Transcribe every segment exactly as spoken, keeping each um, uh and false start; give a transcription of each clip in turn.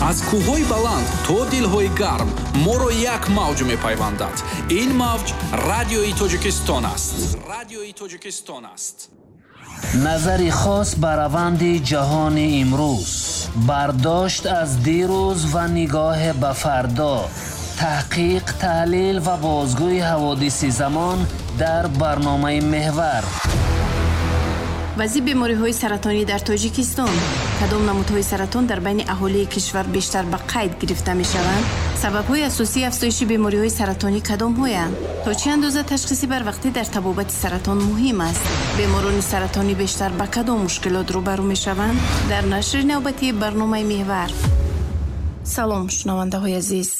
Аз кӯҳҳои баланд то дилҳои гарм моро як мавҷ мепайвандад. Ин мавҷ Радиои Тоҷикистон аст. Радиои Тоҷикистон аст. Назари хос ба раванди ҷаҳони имрӯз, бардошт аз дирӯз ва нигоҳ ба фардо, таҳқиқ, таҳлил ва бозгӯи ҳаводиси замон дар барномаи Меҳвар. Вазъи бемориҳои саратонӣ дар Тоҷикистон. Кадом намудҳои саратон дар байни аҳолии кишвар бештар ба қайд гирифта мешаванд? Сабабҳои асосии афзоиши бемориҳои саратонӣ кадомҳоянд? То чӣ андоза ташхиси барвақтӣ дар табобати саратон муҳим аст? Беморони саратонӣ бештар ба кадом мушкилот рӯбарӯ мешаванд? Дар нашри навбатии барномаи Меҳвар. Салом, шунавандаҳои азиз.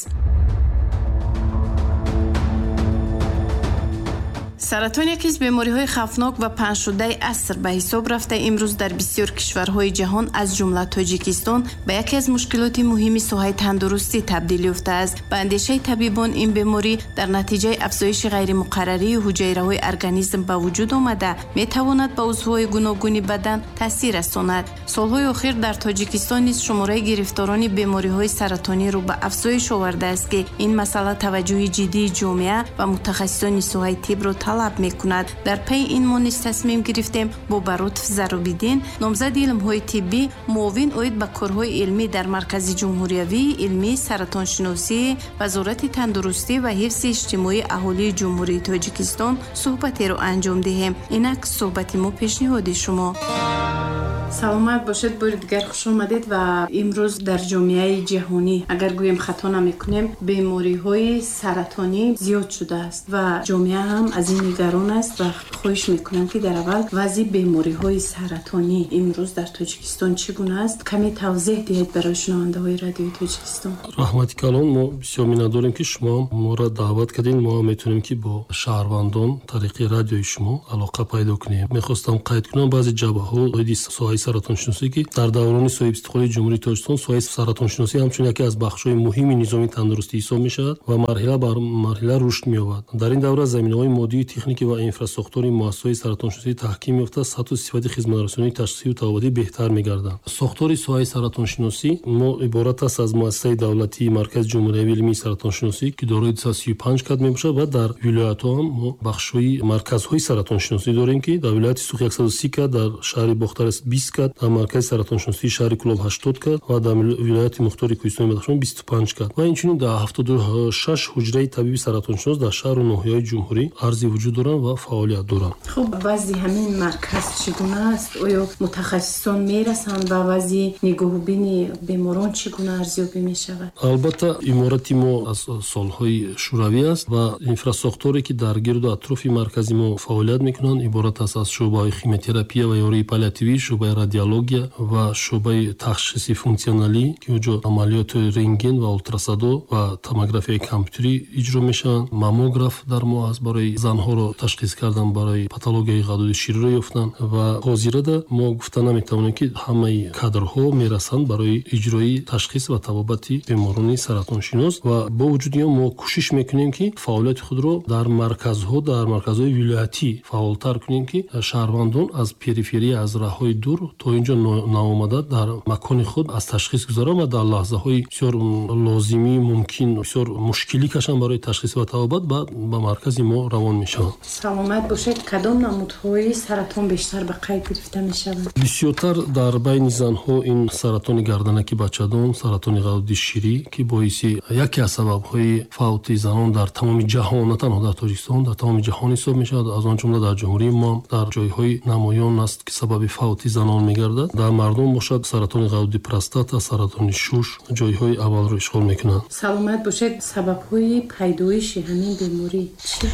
Саратон яке аз бемориҳои хавфнок ва паҳншудаи аср ба ҳисоб рафта, имрӯз дар бисёр кишварҳои ҷаҳон аз ҷумла Тоҷикистон ба яке аз мушкилоти муҳими соҳаи тандурустӣ табдил ёфтааст. Ба андешаи табибон, ин беморӣ дар натиҷаи афзоиши ғайримуқаррарии ҳуҷайраҳои организм ба вуҷуд омада, метавонад ба узвҳои гуногуни бадан таъсир расонад. Солҳои охир дар Тоҷикистон низ шумораи гирифторони бемориҳои саратонӣ рӯ ба афзоиш овардааст, ки ин масъала таваҷҷӯҳи ҷиддии ҷомеа ва мутахассисони соҳаи тиббро талаб мекунад. Дар пайи ин мо низ тасмим гирифтем бо Баротов Зарубиддин, номзади илмҳои тиббӣ, муовин оид ба корҳои илмӣ дар Маркази ҷумҳуриявии илмии саратоншиносии Вазорати тандурустӣ ва ҳифзи иҷтимоии аҳолии Ҷумҳурии Тоҷикистон суҳбатеро анҷом диҳем. Инак суҳбати мо пешниҳоди шумо. Саломат бошед, бори дигар хуш омадед. Ва имрӯз дар ҷомеаи ҷаҳонӣ, агар гӯем хато намекунем, бемориҳои саратонӣ зиёд шудааст ва ҷомеа ҳам аз ин нигарон аст ва хоҳиш мекунам, ки дар аввал вазъи бемориҳои саратонӣ имрӯз дар Тоҷикистон чӣ гуна аст, каме тавзеҳ диҳед барои шунавандаҳои Радиои Тоҷикистон. Раҳмати калон, мо бисёр миннатдорем, ки шумо моро даъват кардед. Мо метавонем, ки бо шаҳрвандон тариқи радиои шумо алоқа пайдо кунем. Мехостам қайд кунам баъзе ҷабҳаҳо оиди соҳаи саратоншиносӣ, ки дар даврони соҳибистиқлолии Ҷумҳурии Тоҷикистон соҳаи саратоншиносӣ ҳамчун яке аз бахшҳои муҳими низоми тандурустӣ ҳисоб мешавад ва марҳила бар марҳила рушд меёбад. Дар ин давра заминаҳои моддию техникӣ ва инфрасохтори муассисаҳои саратоншиносӣ таҳким ёфта, сатҳу сифати хизматрасонии ташхисию табобатӣ беҳтар мегарданд. Сохтори соҳаи саратоншиносӣ мо иборат аст аз муассисаи давлатии Маркази ҷумҳуриявии илмии саратоншиносӣ, ки дорои дусаду сию панҷ кад мебошад, ва дар вилоятҳо ҳам мо бахшҳои марказҳои саратоншиносӣ дорем, ки дар вилояти Суғд яксаду си кад, дар шаҳри Бохтар бист кад, дар маркази саратоншиносии шаҳри Кӯлоб ҳаштод кад ва дар вилояти мухтори Кӯҳистони Бадахшон бисту панҷ кад ва инчунин дар ҳафтоду шаш ҳуҷраи табиби саратоншинос дар шаҳру ноҳияҳои ҷумҳурӣ арзи вуҷуд доранд ва фаъолият доранд. Хуб, вазъи ҳамин марказ чӣ гуна аст? Оё мутахассисон мерасанд ва вазъи нигоҳубини беморон чӣ гуна арзёбӣ мешавад? Албатта, иморати мо аз солҳои шӯравӣ аст ва инфрасохторе, ки дар гирду атрофи маркази мо фаъолият мекунанд, иборат аст аз шӯъбаҳои химиотерапия ва ёрии паллиативӣ, шӯъбаи радиология ва шӯъбаи ташхиси функсионалӣ, ки онҷо амалиёти рентген ва ултрасадо ва томографияи компютерӣ иҷро мешаванд. Маммограф дар мо аст барои занҳоро ташхис кардан, барои патологияи ғадуди шириро ёфтан ва ҳозирада мо гуфта наметавонем, ки ҳамаи кадрҳо мерасанд барои иҷрои ташхис ва табобати беморони саратоншинос ва бо вуҷуди он мо кӯшиш мекунем, ки фаъолияти худро дар марказҳо, дар марказҳои вилоятӣ фаъолтар кунем, ки шаҳрвандон аз периферия, аз раҳҳои дур то инҷо наомада дар макони худ аз ташхис гузаранд ва дар лаҳзаҳои бисёр лозимӣ мумкин бисёр мушкилӣ кашанд барои ташхис ва табобат, баъд ба маркази мо равон мешаванд. Саломат бошед. Кадом намудҳои саратон бештар ба қайд гирифта мешаванд? Бисёртар дар байни занҳо ин саратони гарданаки бачадон, саратони ғадуди ширӣ, ки боиси яке аз сабабҳои фавти занон дар тамоми ҷаҳон, на танҳо дар Тоҷикистон, дар тамоми ҷаҳон ҳисоб мешавад. Аз он ҷумла дар ҷумҳурии мо дар ҷойҳои намоён аст, ки сабаби фавти занон мегардад. Дар мардум бошад саратони ғадуди простата, саратони шуш ҷойҳои аввалро ишғол мекунанд. Саломат бошед. Сабабҳои пайдоиши ҳамин беморӣ чист?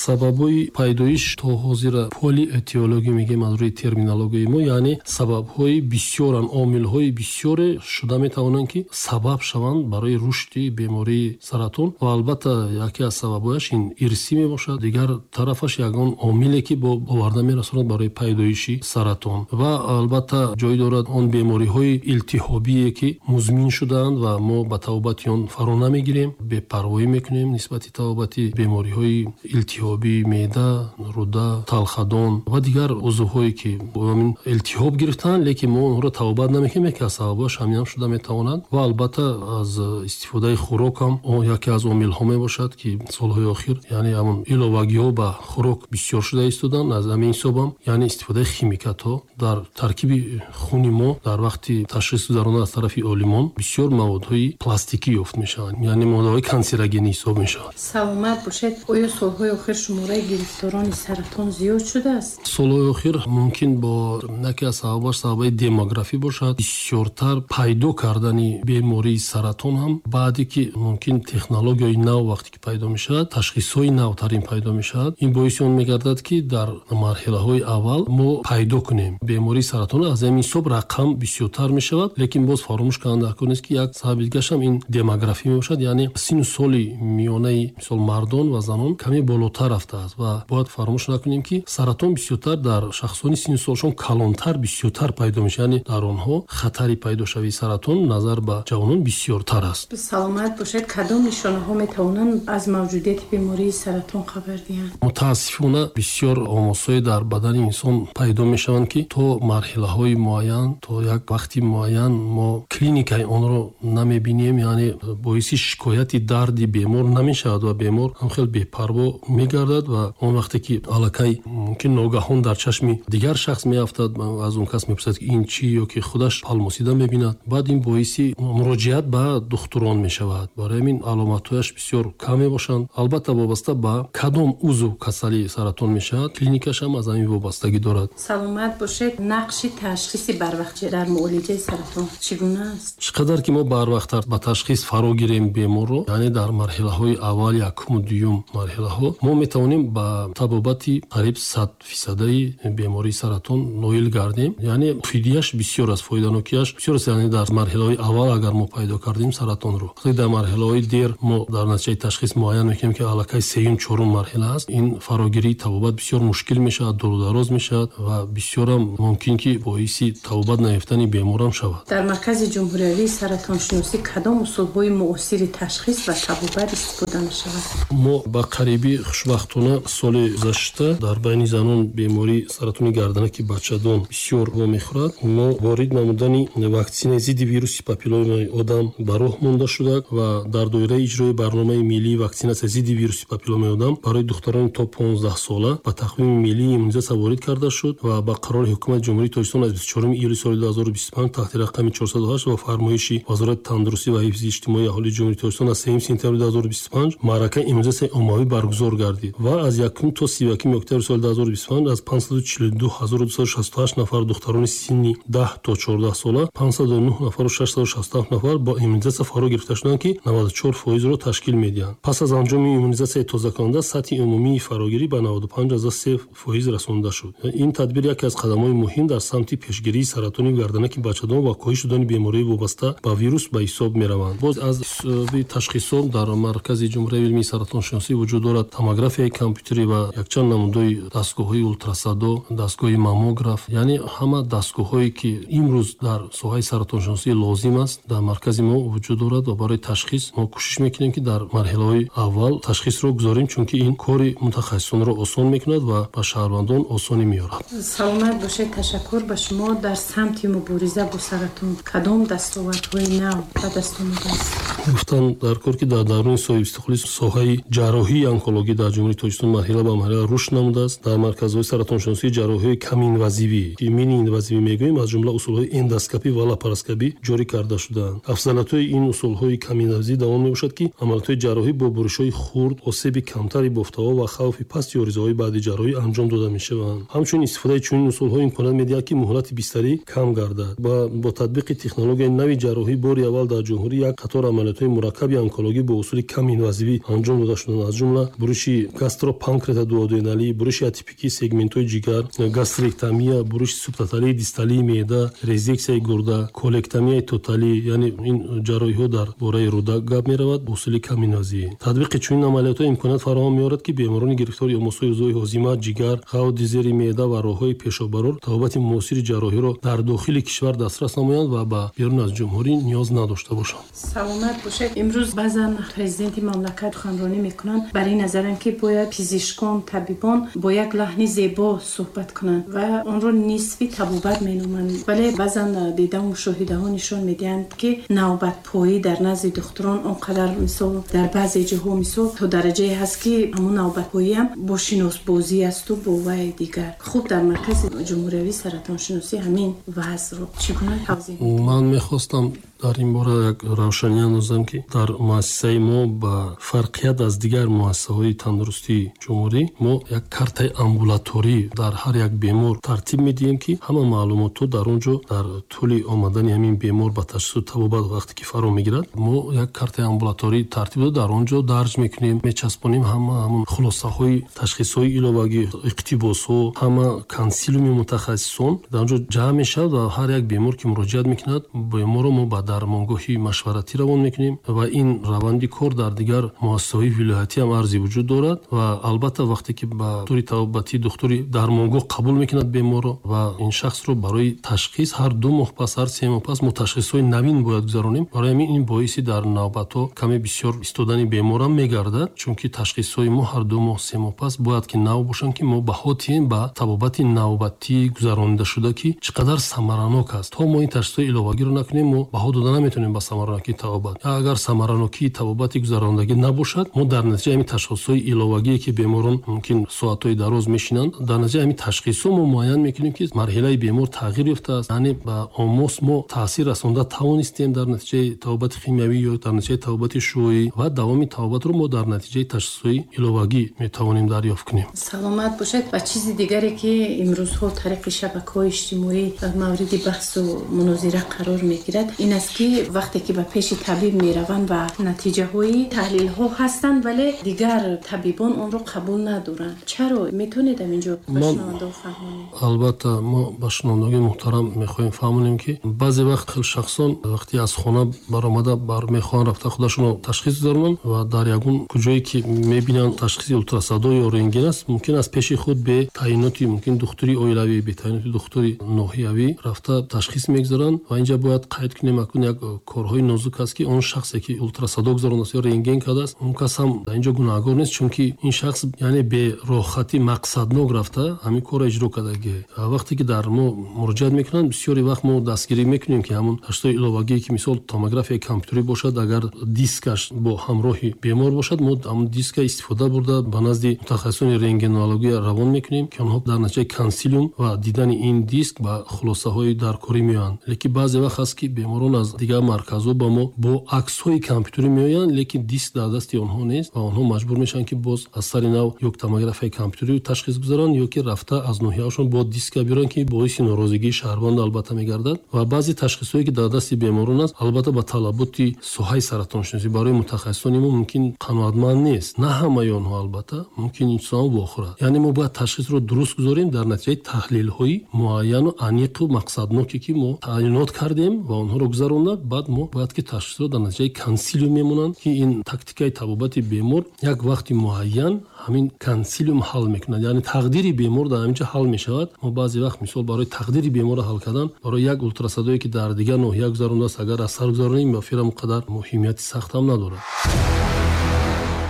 Сабабҳои пайдоиш то ҳозира полиэтиология мегӯем аз рӯи терминологияи мо, яъне сабабҳои бисёранд, омилҳои бисёре шуда метавонанд, ки сабаб шаванд барои рушди бемории саратон ва албатта яке аз сабабҳояш ин ирсӣ мебошад. Дигар тарафаш ягон омиле, ки бо оварда мерасонад барои пайдоиши саратон ва албатта ҷой дорад он бемориҳои илтиҳобие, ки музмин шудаанд ва мо ба табобати он фаро намегирем, бепарвоӣ мекунем нисбати табобати бемориҳои илтиҳобии меъда, руда, талхадон ва дигар узвҳое ки бо ҳамин илтиҳоб гирифтанд, лекин мо онҳоро табобат намекунем, яке аз сабабҳояш ҳамин ҳам шуда метавонад. Ва албатта аз истифодаи хӯрок ҳам он яке аз омилҳо мебошад, ки солҳои охир яъне ҳамон иловагиҳо ба хӯрок бисёр шуда истоданд. Аз ҳамин ҳисоб ҳам яъне истифодаи химикатҳо дар таркиби хуни мо дар вақти ташхис гузаронда аз тарафи олимон бисёр маводҳои пластикӣ ёфт мешаванд, яъне моддаҳои канцерогенӣ ҳисоб мешаванд. Саломат бошед. Оё солҳои охир шумораи гирифторони саратон зиёд шудааст? Солҳои охир мумкин бо яке аз сабабҳояш сабаби демографӣ бошад. Бисёртар пайдо кардани бемории саратон ҳам баъде ки мумкин технологияи нав вақте ки пайдо мешавад, ташхисҳои навтарин пайдо мешавад, ин боиси он мегардад, ки дар марҳилаҳои аввал мо пайдо кунем бемории саратон. Аз ҳамин ҳисоб рақам бисёртар мешавад, лекин боз фаромӯш кардан даркор нест, ки як сабаби дигараш ҳам ин демографӣ мебошад, яъне синну соли миёнаи мисол мардон ва занон каме болотар рафтааст ва бояд фаромӯш накунем, ки саратон бисёртар дар шахсони синну солшон калонтар бисёртар пайдо мешавад, яъне дар онҳо хатари пайдошавии саратон назар ба ҷавонон бисёртар аст. Саломат бошед. Кадом нишонаҳо метавонанд аз мавҷудияти бемории саратон хабар диҳанд? Мутаассифона бисёр омосҳое дар бадани инсон пайдо мешаванд, ки то марҳилаҳои муайян, то як вақти муайян мо клиникаи онро намебинем, яъне боиси шикояти дарди бемор намешавад ва бемор ҳам хел бепарво мегардад ва он вақте ки аллакай мумкин ногаҳон дар чашми дигар шахс меафтад, аз он кас мепурсад, ки ин чӣ, ё ки худаш палмосида мебинад, баъд ин боиси муроҷиат ба духтурон мешавад. Барои ҳамин аломатҳояш бисёр кам мебошанд. Албатта вобаста ба кадом узв касалии саратон мешавад, клиникаш ҳам аз ҳамин вобастагӣ дорад. Саломат бошед. Нақши ташхиси барвақт дар муолиҷаи саратон чӣ гуна аст? Чӣ қадар ки мо барвақттар ба ташхис фаро гирем беморро, яъне дар марҳилаҳои аввал, якум, дуюм марҳилаҳо, мо метавонем ба табобати қариб сад фисадаи бемории саратон ноил гардем. Яъне фидияш бисёр аст, фоиданокияш бисёр аст. Яъне дар марҳилаҳои аввал агар мо пайдо кардем саратонро, дар марҳилаҳои дер мо дар натиҷаи ташхис муайян мекунем, ки аллакай сеюм, чорум марҳила аст, ин фарогирии табобат бисёр мушкил мешавад, дурудароз мешавад ва бисёрам мумкин ки боиси табобат наёфтани беморам шавад. Дар Маркази ҷумҳуриявии саратоншиносӣ кадом усулҳои муосири ташхис ва табобат истифода мешавад? Мо ба қарибӣ хушбахтона соли гузашта дар байни занон бемории саратони гарданаки бачадон бисёр вомехӯрад. Мо ворид намудани ваксинаи зидди вируси папилломаи одам ба роҳ монда шуда ва дар доираи иҷрои барномаи миллии ваксинатсия зидди вируси папилломаи одам барои духтарони то понздаҳ сола ба тақвими миллии иммунизатсия ворид карда шуд ва ба қарори ҳукумати Ҷумҳурии Тоҷикистон аз бисту чоруми июли соли ду ҳазору бисту панҷ таҳти рақами чорсаду ҳашт ва фармоиши Вазорати тандурустӣ ва ҳифзи иҷтимоии аҳолии Ҷумҳурии Тоҷикистон аз сеюми сентябри ду ҳазору бисту панҷ маъракаи иммунизатсияи оммавӣ баргузор гардид ва аз якум то сию якуми октябри соли ду ҳазору бисту панҷ аз панҷсаду чилу ду ҳазору дусаду шасту ҳашт нафар духтарони синни даҳ то чордаҳ сола панҷсаду нӯҳ нафару шашсаду шасту ҳафт нафар бо иммунизатсия фаро гирифта шуданд, ки наваду чор фоизро ташкил медиҳанд. Пас аз анҷоми иммунизатсияи тозакунанда сатҳи умумии фарогирӣ ба наваду панҷ аз се фоиз расонда шуд. Ин тадбир яке аз қадамҳои муҳим дар самти пешгирии саратони гарданаки бачадон ва коҳиш додани бемории вобаста ба вирус ба ҳисоб мераванд. Боз аз ҳисоби ташхисҳо дар Маркази ҷумҳуриявии илмии саратоншиносӣ вуҷуд дорад томографияи компютерӣ ва якчанд намудҳои дастгоҳҳои ултрасадо, дастгоҳи маммограф, яъне ҳама дастгоҳҳое ки имрӯз дар соҳаи саратоншиносӣ лозим аст дар маркази мо вуҷуд дорад ва барои ташхис мо кӯшиш мекунем, ки дар марҳилаҳои аввал ташхисро гузорем, чунки ин кори мутахассисонро осон мекунад ва ба шаҳрвандон осонӣ меорад. Саломат бошед. Ташаккур ба шумо. Дар самти мубориза бо саратон кадом дастовардҳои нав ба даст омадааст? Гуфтан дар кор, ки дар давраи соҳибистиқлолӣ соҳаи ҷарроҳии онкологӣ дар Ҷумҳурии Тоҷикистон марҳила ба марҳила рушд намудааст. Дар марказҳои саратоншиносӣ ҷарроҳиҳои каминвазивӣ, ки миниинвазивӣ мегӯем, аз ҷумла усулҳои эндоскопӣ ва лапароскопӣ ҷорӣ карда шудаанд. Афзалиятҳои ин усулҳои каминвазивӣ дар он мебошад, ки амалиётҳои ҷарроҳӣ бо буришҳои хурд, осеби камтари бофтаҳо ва хавфи пасти оризаҳои баъди ҷарроҳӣ анҷом дода мешаванд. Ҳамчунин истифодаи чунин усулҳо имконият медиҳад, ки муҳлати бистарӣ кам гардад ва бо татбиқи технологияи нави ҷарроҳӣ бори аввал дар ҷумҳурӣ як қатор амалиётҳои мураккаби онкологӣ бо усули каминвазивӣ анҷом дода шуданд, аз ҷумла буриши гастропанкреатодуоденалӣ, буриши атипикии сегментҳои ҷигар, гастректомия, буриши субтоталии дисталии меъда, резексияи гурда, колектомияи тоталӣ, яъне ин ҷарроҳиҳо дар бораи руда гап меравад бо усули каминвазивӣ. Татбиқи чунин амалиётҳо имконият фароҳам меорад, ки беморони гирифтори омосҳои узвҳои ҳозима, ҷигар, ғавди зери меъда ва роҳҳои пешоббарор табобати муосири ҷарроҳиро дар дохили кишвар дастрас намоянд ва ба берун аз ҷумҳурӣ ниёз надошта бошанд. Саломат Бошед. Имрӯз баъзан президенти мамлакат суханронӣ мекунанд, бар ин назаранд, ки бояд пизишкон, табибон бо як лаҳни зебо суҳбат кунанд ва онро нисфи табобат меноманд. Вале баъзан дидаву мушоҳидаҳо нишон медиҳанд, ки навбатпоӣ дар назди духтурон он қадар, мисол, дар баъзе ҷоҳо, мисол, то дараҷае ҳаст, ки ҳамон навбатпоиам бо шиносбозӣ асту бо вай дигар. Хуб, дар Маркази ҷумҳуриявии саратоншиносӣ ҳамин вазъро чӣ гуна тавзеҳ? Ман мехостам дар ин бора як равшанӣ андозам, ки дар муассисаи мо ба фарқият аз дигар муассисаҳои тандурустии ҷумҳурӣ мо як картаи амбулаторӣ дар ҳар як бемор тартиб медиҳем, ки ҳама маълумотҳо дар он ҷо дар тӯли омадани ҳамин бемор ба ташхису табобат вақте ки фаро мегирад, мо як картаи амбулаторӣ тартиб дода дар он ҷо дарҷ мекунем, мечаспонем ҳама ҳамон хулосаҳои ташхисҳои иловагӣ, иқтибосҳо, ҳама консилиуми мутахассисон дар он ҷо ҷамъ мешавад ва ҳар як бемор ки муроҷиат мекунад, беморро мо ба дармонгоҳи машваратӣ равон мекунем ва ин раванди кор дар дигар муассисаҳои вилоятӣ ҳам арзи вуҷуд дорад. Ва албатта вақте ки ба духтури табобатӣ, духтури дармонгоҳ қабул мекунад беморро ва ин шахсро барои ташхис ҳар ду моҳ пас, ҳар се моҳ пас мо ташхисҳои навин бояд гузаронем. Барои ҳамин ин боиси дар навбатҳо каме бисёр истодани беморам мегардад, чунки ташхисҳои мо ҳар ду моҳ, се моҳ пас бояд ки нав бошанд, ки мо баҳо диҳем ба табобати навбатӣ гузаронида шуда, ки чӣ қадар самаранок аст. То мо ин ташхисҳои иловагиро накунем, мо баҳо дода наметавонем ба самаранокии табобат. Агар самаранокии табобати гузарондагӣ набошад, мо дар натиҷаи ҳамин ташхисҳои иловагие, ки беморон мумкин соатҳои дароз мешинанд, дар натиҷаи ҳамин ташхисҳо мо муайян мекунем, ки марҳилаи бемор тағйир ёфтааст, яъне ба омос мо таъсир расонда тавонистем дар натиҷаи табобати химиявӣ ё дар натиҷаи табобати шуоӣ, ва давоми табобатро мо дар натиҷаи ташхисҳои иловагӣ метавонем дарёфт кунем. Саломат бошед. Ва чизи дигаре, ки имрӯзҳо тариқи шабакаҳои иҷтимоӣ мавриди баҳсу мунозира қарор мегирад, ин аст, ки вақте ки ба пеши табиб мераванд ва натиҷаҳои таҳлилҳо ҳастанд, вале дигар табибон онро қабул надоранд. Чаро? Метавонед инҷо ба шунавандаҳо фаҳмонед? Албатта, мо ба шунавандагони муҳтарам мехоҳем фаҳмонем, ки баъзе вақт хел шахсон вақте аз хона баромада бар мехоҳанд рафта худашонро ташхис гузаронанд ва дар ягон куҷое ки мебинанд ташхиси ултрасадо ё рентген аст, мумкин аз пеши худ бе таъиноти мумкин духтури оилавӣ, бе таъиноти духтури ноҳиявӣ рафта ташхис мегузаранд. Ва инҷа бояд қайд кунем, акун як корҳои нозук аст, ки он шахсе ки ултрасадо гузарондааст ё рентген кардааст, он кас ҳам дар инҷо гунаҳгор нест, чунки ин шахс яъне бе роҳхатӣ мақсаднок рафта ҳамин корро иҷро кардагӣ. Вақте ки дар мо муроҷиат мекунанд, бисёри вақт мо дастгирӣ мекунем, ки ҳамон ташхисҳои иловагие, ки мисол томографияи компютерӣ бошад, агар дискаш бо ҳамроҳи бемор бошад, мо ҳамон диска истифода бурда ба назди мутахассисони рентгенология равон мекунем, ки онҳо дар натиҷаи консилиум ва дидани ин диск ба хулосаҳои даркорӣ меоянд. Лекин баъзе вақт ҳаст, ки беморон аз дигар марказҳо ба мо бо аксҳои компютерӣ меоянд, лекин диск дар дасти онҳо нест ва онҳо маҷбур мешаванд, ки боз аз сари нав ё томографияи компютерӣ ташхис гузаронанд, ё ки рафта аз ноҳияҳошон бо диска биёранд, ки боиси норозигии шаҳрванд албатта мегардад. Ва баъзе ташхисҳое, ки дар дасти беморон аст, албатта ба талаботи соҳаи саратоншиносӣ барои мутахассисони мо мумкин қаноатманд нест. На ҳамаи онҳо албатта мумкин инсон вохӯрад. Яъне мо бояд ташхисро дуруст гузорем дар натиҷаи таҳлилҳои муайяну аниқу мақсадноке, ки мо таъйинот кардем ва онҳоро гузаронда, баъд мо бояд ки ташхисро дар натиҷаи консилиум мемонанд, ки ин тактикаи табобати бемор як вақти муайян ҳамин консилиум ҳал мекунад, яъне тақдири бемор дар ҳамин ҷо ҳал мешавад. Мо баъзе вақт мисол барои тақдири беморро ҳал кардан барои як ултрасадое, ки дар дигар ноҳия гузарондааст, агар аз сар гузаронем, ба фирам он қадар муҳимияти сахт ҳам надорад.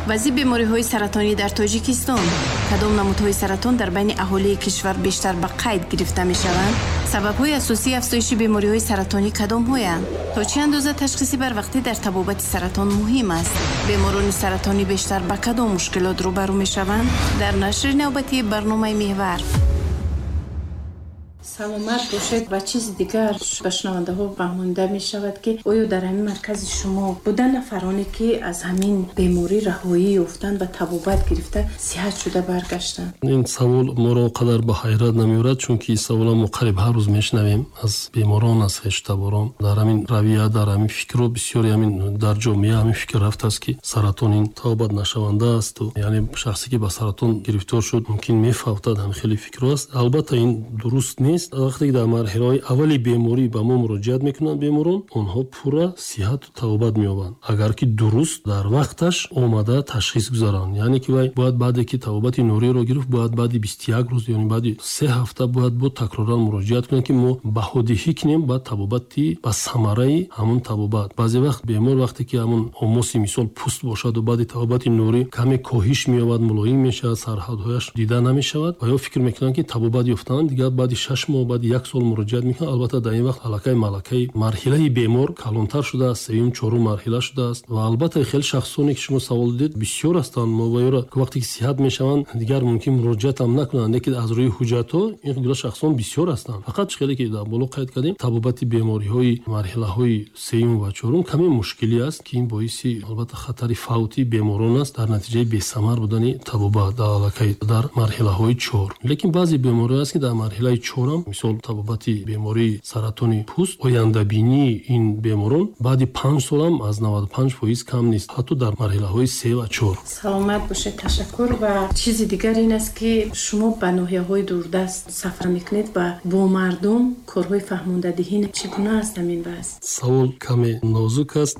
Вазъи бемориҳои саратонӣ дар Тоҷикистон. Кадом намудҳои саратон дар байни аҳолии кишвар бештар ба қайд гирифта мешаванд? Сабабҳои асосии афзоиши бемориҳои саратонӣ кадомҳоянд? То чӣ андоза ташхиси барвақтӣ дар табобати саратон муҳим аст? Беморони саратонӣ бештар ба кадом мушкилот рӯбарӯ мешаванд? Дар нашри навбатии барномаи Меҳвар. Саломат бошед. Ва чизи дигар ба шунавандаҳо фаҳмонида мешавад, ки оё дар ҳамин маркази шумо буданд нафароне, ки аз ҳамин беморӣ раҳоӣ ёфтанд ва табобат гирифта сиҳат шуда баргаштанд? Ин савол моро қадар ба ҳайрат намеорад, чунки савола мо қариб ҳар рӯз мешунавем аз беморон, аз хештаборон. Дар ҳамин равия, дар ҳамин фикру бисёри ҳамин дар ҷомеа ҳамин фикр рафтааст, ки саратон ин табобат нашаванда аст, яъне шахсе ки ба саратон гирифтор шуд, мумкин мефавтад, ҳамин хеле фикру аст. Албатта ин дуруст нест. аст, вақте ки дар марҳилаҳои аввали беморӣ ба мо муроҷиат мекунанд беморон, онҳо пурра сиҳату табобат меёбанд, агар ки дуруст дар вақташ омада ташхис гузаранд. Яъне ки вай бояд баъде ки табобати нуриро гирифт, бояд баъди бисту як рӯз, яъне баъди се ҳафта бояд бо такроран муроҷиат кунанд, ки мо баҳодиҳӣ кунем ба табобати, ба самараи ҳамон табобат. Баъзе вақт бемор вақте ки ҳамон омоси мисол пӯст бошад ва баъди табобати нурӣ каме коҳиш меёбад, мулоим мешавад, сарҳадҳояш дида намешавад ва ё фикр мекунанд, ки табобат ёфтанд, дигар баъди шаш моҳ, баъди як сол муроҷиат мекунанд. Албатта дар ин вақт аллакай малакаи марҳилаи бемор калонтар шудааст, сеюм, чорум марҳила шудааст. Ва албатта хеле шахсоне ки шумо савол дидед бисёр ҳастанд, мо ва ёро вақте ки сиҳат мешаванд дигар мумкин муроҷиат ҳам накунанд, лекин аз рӯи ҳуҷҷатҳо ин гуна шахсон бисёр ҳастанд. Фақат хеле ки дар боло қайд кардем, табобати бемориҳои марҳилаҳои сеюм ва чорум каме мушкилӣ аст, ки ин боиси албатта хатари фавти беморон аст дар натиҷаи бесамар будани табобат дар аллакай дар марҳилаҳои чор. Лекин баъзе бемориҳо аст, ки дар марҳилаи чорам, мисол табобати бемории саратони пӯст, ояндабинии ин беморон баъди панҷ солам аз наваду панҷ фоиз кам нест, ҳатто дар марҳилаҳои се ва чор. Саломат бошед, ташаккур. Ва чизи дигар ин аст, ки шумо ба ноҳияҳои дурдаст сафар мекунед ва бо мардум корҳои фаҳмондадиҳӣ чӣ гуна аст ҳамин вазъ? Савол каме нозук аст.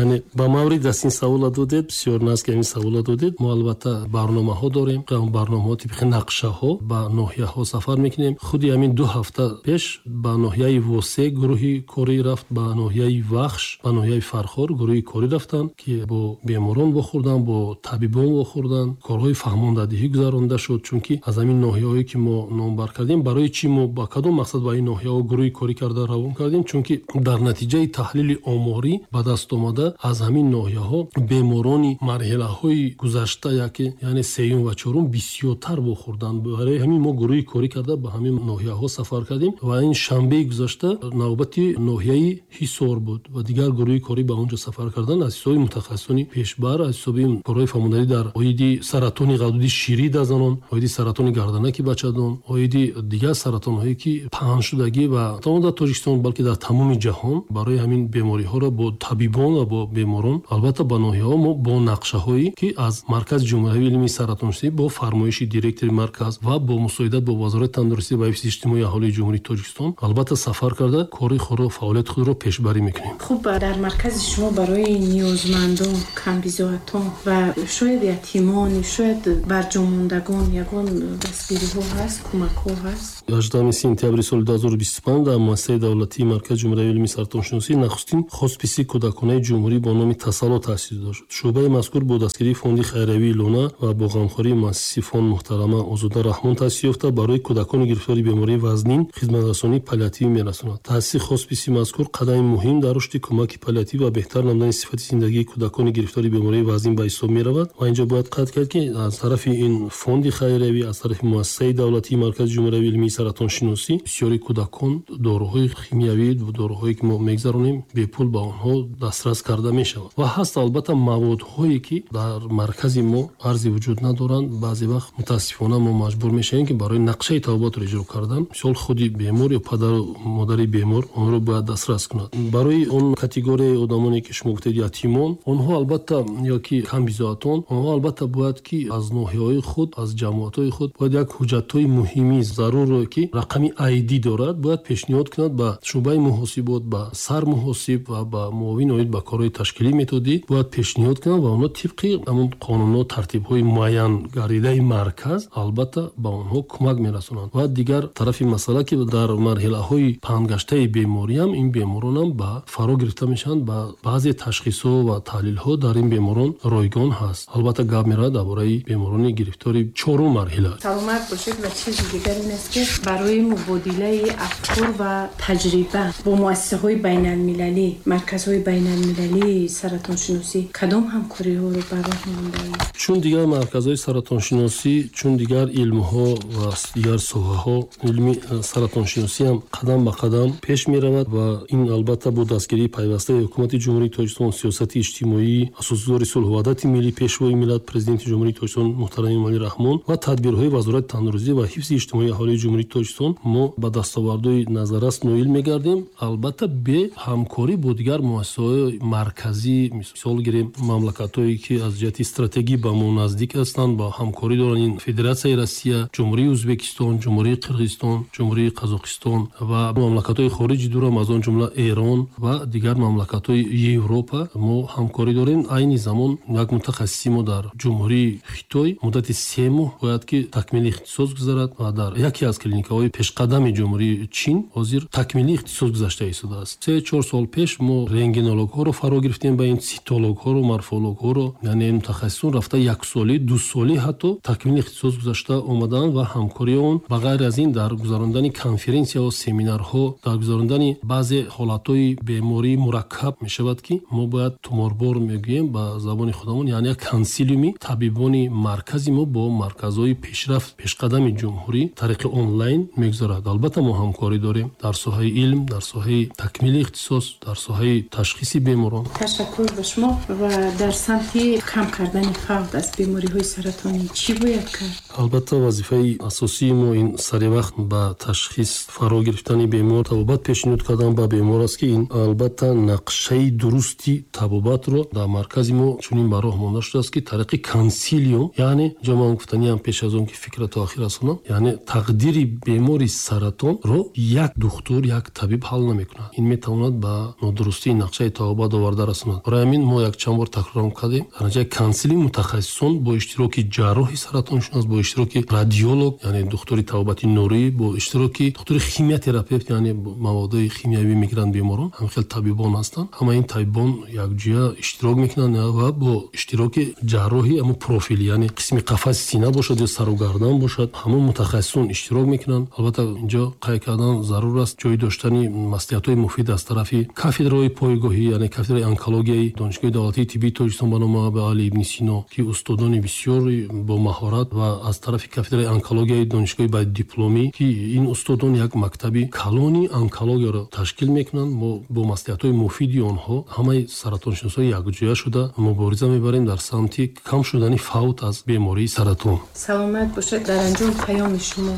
Яъне ба маврид аст ин савола додед, бисёр наст ки ҳамин савола додед. Мо албатта барномаҳо дорем, барномаҳо тибқи нақшаҳо ба ноҳияҳо сафар мекунем. Худи ҳамин ду ҳафта пеш ба ноҳияи Восе гурӯҳи корӣ рафт, ба ноҳияи Вахш, ба ноҳияи Фархор гурӯҳи корӣ рафтанд, ки бо беморон вохӯрданд, бо табибон вохӯрданд, корҳои фаҳмондадиҳӣ гузаронда шуд. Чунки аз ҳамин ноҳияҳое ки мо номбар кардем, барои чӣ мо ба кадом мақсад ба ин ноҳияҳо гурӯҳи корӣ карда равон кардем? Чунки дар натиҷаи таҳлили оморӣ ба даст омада аз ҳамин ноҳияҳо беморони марҳилаҳои гузашта, яке яъне сеюм ва чорум бисёртар вохӯрданд. Барои ҳамин мо гурӯҳи корӣ карда ба ҳамин ноҳияҳо сафар кардем ва ин шанбеи гузашта навбати ноҳияи Ҳисор буд ва дигар гурӯҳи корӣ ба он ҷо сафар карданд аз ҳисоби мутахассисони пешбар, аз ҳисоби корҳои фаҳмондадиҳӣ дар оиди саратони ғадуди ширӣ дар занон, оиди саратони гарданаки бачадон, оиди дигар саратонҳое ки паҳншудагӣ ва на дар Тоҷикистон балки дар тамоми ҷаҳон. Барои ҳамин бемориҳоро бо табибон ва бо беморон албатта ба ноҳияҳо мо бо нақшаҳое ки аз Маркази ҷумҳуриявии илмии саратоншиносӣ бо фармоиши директори марказ ва бо мусоидат бо Вазорати тандурустӣ ва ҳифзи иҷтимоии аҳолии Ҷумҳурии Тоҷикистон албатта сафар карда кори худро, фаъолияти худро пешбарӣ мекунем. Хуб, дар маркази шумо барои ниёзмандон, камбизоатон ва шояд ятимон, шояд барҷомондагон ягон дастгириҳо ҳаст, кӯмакҳо ҳаст? ҳаждаҳуми сентябри соли ду ҳазору бисту панҷ дар муассисаи давлатии Маркази ҷумҳуриявии илмии саратоншиносӣ нахустин хосписи кӯдаконаи ҷумҳурӣ бо номи Тасалло таъсис дода шуд. Шӯъбаи мазкур бо дастгирии фонди хайриявии Луна ва бо ғамхории муассиси фонд муҳтарама Озода Раҳмон таъсис ёфта, барои кӯдакони гирифтори бемории вазнин хизматрасонии паллиативӣ мерасонад. Таъсиси хосписи мазкур қадами муҳим дар рушди кӯмаки паллиативӣ ва беҳтар намудани сифати зиндагии кӯдакони гирифтори бемории вазнин ба ҳисоб меравад. Ва инҷо бояд қайд кард, ки аз тарафи ин фонди хайриявӣ, аз тарафи муассисаи давлатии Маркази ҷумҳуриявии илмии саратоншиносӣ бисёри кӯдакон доруҳои химиявӣ, доруҳое ки мо мегзаронем, бепул ба онҳо дастрас карда мешавад. Ва ҳаст албатта маводҳое ки дар маркази мо арзи вуҷуд надоранд. Баъзе вақт мутаассифона мо маҷбур мешавем, ки барои нақшаи табобатро иҷро кардан, мисол худи бемор ё падару модари бемор онро бояд дастрас кунад. Барои он категорияи одамоне ки шумо гуфтед ятимон, онҳо албатта ё ки камбизоатон, онҳо албатта бояд ки аз ноҳияҳои худ, аз ҷамоатҳои худ бояд як ҳуҷҷатҳои муҳими зарурро ки рақами ай ди дорад бояд пешниҳод кунад ба шӯъбаи муҳосибот, ба сармуҳосиб ва ба муовин оид ба корҳои ташкилӣ методӣ бояд пешниҳод кунад ва онҳо тибқи ҳамон қонунҳо, тартибҳои муайян гардидаи марказ албатта ба онҳо кӯмак мерасонанд. Ва дигар тарафи масъала ки дар марҳилаҳои паҳнгаштаи бемориам ин беморонам ба фаро гирифта мешаванд, ба баъзе ташхисҳо ва таҳлилҳо дар ин беморон ройгон ҳаст. Албатта гап меравад дар бораи беморони гирифтори чорум марҳила. Саломат бошед. Ва чизи дигар ин аст, ки барои мубодилаи афкор ва таҷриба бо муассисаҳои байналмилалӣ, марказҳои байналмилалии саратоншиносӣ кадом ҳамкориҳоро ба роҳ мондаед? Чун дигар марказҳои саратоншиносӣ, чун дигар илмҳо ва дигар соҳаҳо, илми саратоншиносӣ ҳам қадам ба қадам пеш меравад ва ин албатта бо дастгирии пайвастаи ҳукумати Ҷумҳурии Тоҷикистон, сиёсати иҷтимоӣ, асосгузори сулҳу ваҳдати миллӣ, пешвои миллат, президенти Ҷумҳурии Тоҷикистон муҳтарам Эмомалӣ Раҳмон ва тадбирҳои Вазорати тандурустӣ ва ҳифзи иҷтимоии аҳолии Ҷумҳурии Тоҷикистон мо ба дастовардҳои назаррас ноил мегардем. Албатта бе ҳамкорӣ бо дигар муассисаҳои марказӣ, мисол гирем мамлакатҳое ки аз ҷиҳати стратегӣ ба мо наздик ҳастанд, ба ҳамкорӣ доранд, ин Федератсияи Россия, Ҷумҳурии Ӯзбекистон, Ҷумҳурии Ҷумҳурии Қирғизистон, Ҷумҳурии Қазоқистон ва мамлакатҳои хориҷи дурам, аз он ҷумла Эрон ва дигар мамлакатҳои Европа мо ҳамкорӣ дорем. Айни замон як мутахассиси мо дар Ҷумҳурии Хитой муддати се моҳ бояд ки такмили ихтисос гузарад ва дар яке аз клиникаҳои пешқадами Ҷумҳурии Чин ҳозир такмили ихтисос гузашта истодааст. Се-чор сол пеш мо рентгенологҳоро фаро гирифтем ба ин цитологҳоро, морфологҳоро, яъне мутахассисон рафта яксолӣ, дусолӣ ҳатто такмили ихтисос гузашта омадаанд ва ҳамкории он ба ғайр аз ин дар гузарондани конференсияҳо, семинарҳо, дар гузарондани баъзе ҳолатҳои бемории мураккаб мешавад ки мо бояд туморбор мегӯем ба забони худамон, яъне як консилиуми табибони маркази мо бо марказҳои пешрафт, пешқадами ҷумҳурӣ тариқи онлайн мегузарад. Албатта мо ҳамкорӣ дорем дар соҳаи илм, дар соҳаи такмили ихтисос, дар соҳаи ташхиси беморон. Ташаккур ба шумо. Ва дар самти кам кардани фавт аз бемориҳои саратонӣ чӣ бояд кард? Албатта вазифаи асосии мо ин саривақт ба ташхис фаро гирифтани бемор, табобат пешниҳод кардан ба бемор аст ки ин албатта нақшаи дурусти табобатро дар маркази мо чунин ба роҳ монда шудааст ки тариқи консилиум, яъне ҷо ман гуфтаниам пеш аз он ки фикра то охир расонам, яъне тақдири бемори саратонро як духтур, як табиб ҳал намекунад. Ин метавонад ба нодурустии нақшаи табобат оварда расонад. Барои ҳамин мо якчанд бор такрорам кардем, дар натиҷаи консилиум мутахассисон бо иштироки ҷарроҳи саратоншинос, бо иштироки радиолог, яъне духтури табобати нурӣ, бо иштироки духтури химиотерапевт, яъне маводҳои химиявӣ мегиранд беморон, ҳамин хел табибон ҳастанд. Ҳама ин табибон якҷоя иштирок мекунанд ва бо иштироки ҷарроҳи ҳамон профил, яъне қисми қафаси сина бошад ё сару гардан бошад, ҳамон мутахассисон иштирок мекунанд. Албатта инҷо қайд кардан зарур аст ҷой доштани маслиҳатҳои муфид аз тарафи кафедраҳои пойгоҳӣ, яъне кафедраи онкологияи Донишгоҳи давлатии тиббии Тоҷикистон ба номи Абуалӣ ибни Сино, ки устодони бисёри бо маҳорат, ва аз тарафи кафедраи онкологияи Донишгоҳи байдипломӣ, ки ин устодон як мактаби калони онкологияро ташкил мекунанд. Мо бо маслиҳатҳои муфиди онҳо ҳамаи саратоншиносҳои якҷоя шуда мубориза мебарем дар самти кам шудани фавт аз бемории саратон. Саломат бошед. Дар анҷом паёми шумо.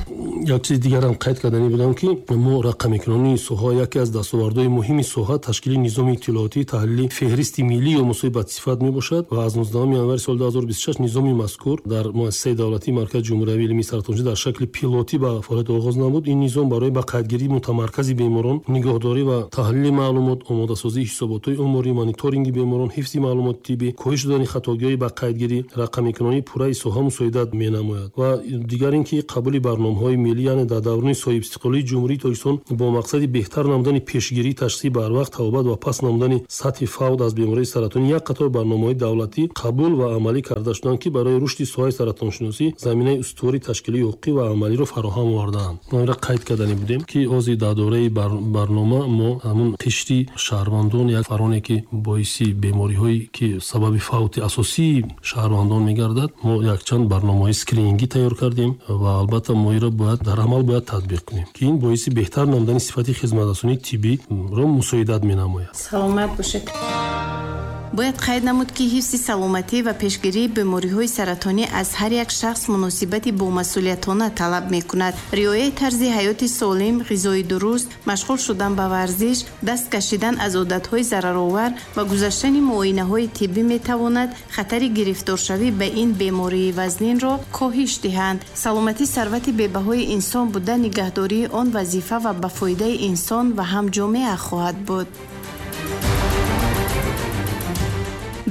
Як чиз дигарам қайд карданӣ будам ки мо рақамикунонии соҳа яке аз дастовардҳои муҳими соҳа ташкили низоми иттилоотии таҳлили феҳристи миллии омӯзҳои бадсифат мебошад ва аз нуздаҳуми январи соли ду ҳазору бисту шаш низоми мазкур дар муассисаи давлатии Маркази ҷумҳуриявии илмии саратоншиносӣ дар шакли пилотӣ ба фаъолият оғоз намуд. Ин низом барои ба қайдгирии мутамаркази беморон, нигоҳдорӣ ва таҳлили маълумот, омодасозии ҳисоботҳои оморӣ, мониторинги беморон, ҳифзи маълумоти тиббӣ, коҳиш додани хатогиҳои ба қайдгирӣ, рақамикунонии пурраи соҳа мусоидат менамояд. Ва дигар ин ки қабули барномаҳои миллӣ, яъне дар даврони соҳибистиқлолии Ҷумҳурии Тоҷикистон бо мақсади беҳтар намудани пешгирӣ, ташхиси барвақт, табобат ва пас намудани сатҳи фавт аз бемории саратонӣ як қатор барномаҳои давлатӣ қабул ва амалӣ карда шуданд ки барои рушди соҳаи саратоншиносӣ заминаи устувори ташкилии ҳуқуқӣ ва амалиро фароҳам овардаанд. Мо инро қайд кардани будем ки ҳозир дар доираи барнома мо ҳамун қишри шаҳрвандон, як фароне ки боиси бемориҳое ки сабаби фавти асосии шаҳрвандон мегардад, мо якчанд барномаҳои скринингӣ тайёр кардем ва албатта мо инро бояд дар амал бояд татбиқ кунем ки ин боиси беҳтар намудани сифати хизматрасонии тиббиро мусоидат менамояд. Саломат бошед. Бояд қайд намуд ки ҳифзи саломатӣ ва пешгирии бемориҳои саратонӣ аз ҳар як шахс муносибати бомасъулиятона талаб мекунад. Риояи тарзи ҳаёти солим, ғизои дуруст, машғул шудан ба варзиш, даст кашидан аз одатҳои зараровар ва гузаштани муоинаҳои тиббӣ метавонад хатари гирифторшавӣ ба ин бемории вазнинро коҳиш диҳанд. Саломатӣ сарвати бебаҳои инсон буда, нигаҳдории он вазифа ва ба фоидаи инсон ва ҳам ҷомеа хоҳад буд.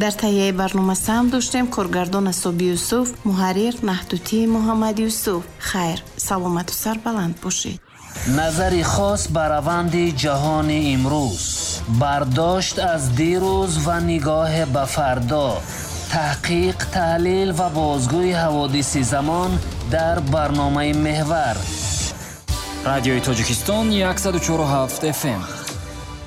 Дар таҳияи барнома саҳм доштем коргардон Асоби Юсуф, муҳаррир Наҳдутӣ Муҳаммад Юсуф. Хайр, саломату сарбаланд бошед. Назари хос ба раванди ҷаҳони имрӯз, бардошт аз дирӯз ва нигоҳ ба фардо, таҳқиқ, таҳлил ва бозгӯи ҳаводиси замон дар барномаи Меҳвар. Радиои Тоҷикистон яксаду чору ҳафт эф эм.